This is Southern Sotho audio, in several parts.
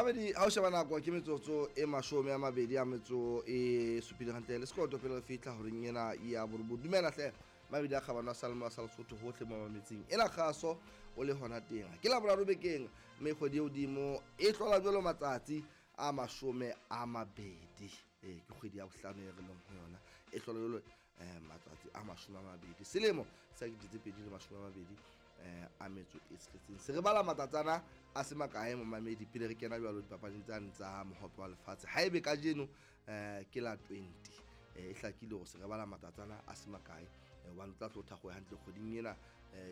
Mamedi, ha o sheba nako ke metsotso e 27 hantle le sekoto pele re fihla horeng ena ya borobong. Dumela hle mabedi a kgabano a salmo a sa Lesotho hohle mo mametseng ena kgaso o le hona teng. Ke la boraro bekeng, mme kgwedi e hodimo e hlola jwalo matsatsi a 20. Ee, ke kgwedi ya bohlano e re leng ho yona, e hlola jwalo matsatsi a 20 selemo sa 2026. Se re bala matsatsana a se makae, momamedi, pele re kena jwalo dipapading tsane tsa mohope wa lefatshe. Ha ebe kajeno ke la 20, e hlakile hore se re bala matsatsana a se makae, hobane o tla tlo thakgoe hantle kgweding ena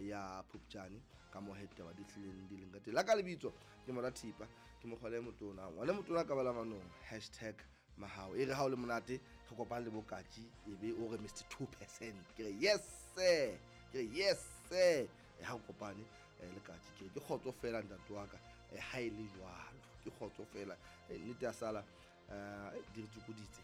ya Phupjane ka mo ditaba di hlileng di leng ka teng. La ka lebitso ke Mora Thipa, ke mokgwale motona, ngwane motona ka bala manong #mahao. E re ha o le monate re kopane le bokatji, ebe o re Mr 2%, ke re yes sir, ke re yes sir. E ha o kopane le katji, ke re ke kgotso fela ntate wa ka. Ha e le jwalo ke kgotso fela. Nnete ya sala di re tsokoditse,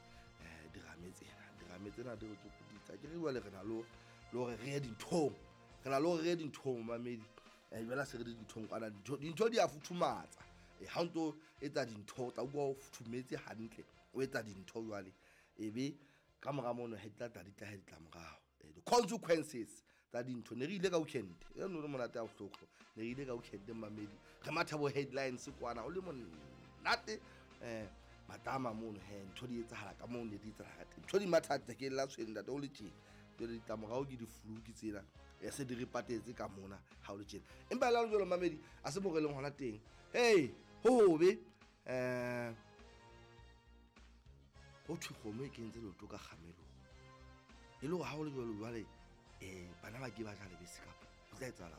dirame tsena, dirame tsena di re tsokoditse. Ke re jwale re na le hore re ye dinthong, re na le hore re ye dinthong, mamedi. Jwale se re le dinthong kwana, dintho di a futhumatsa. Ha o ntso etsa dintho o tla utlwa o futhumetse hantle, o etsa dintho jwale, ebe ka mora mono he di tla tla di tla he ditlamorao, di-consequences tsa dintho. Ne re ile ka weekend e no le monate ya bohloko, ne re ile ka weekend, mamedi, re matha bo headlines kwana, o le monate. Matama mono he ntho di etsahala ka moo ne di etsahala ka teng, ntho di matha ke la tshweng ntate o le tjena. Jwale ditlamorao ke di-flu ke tsena, se di re patetse ka mona ha o le tjena. Empa le ha jwalo, mamedi, a se mo re leng hona teng. Hey, ho hobe. Ho thwe kgomo e kentse leoto ka kgamelong, e le hore ha o le jwalo jwale, bana ba ke ba ja lebese kapa ho tla etsahala?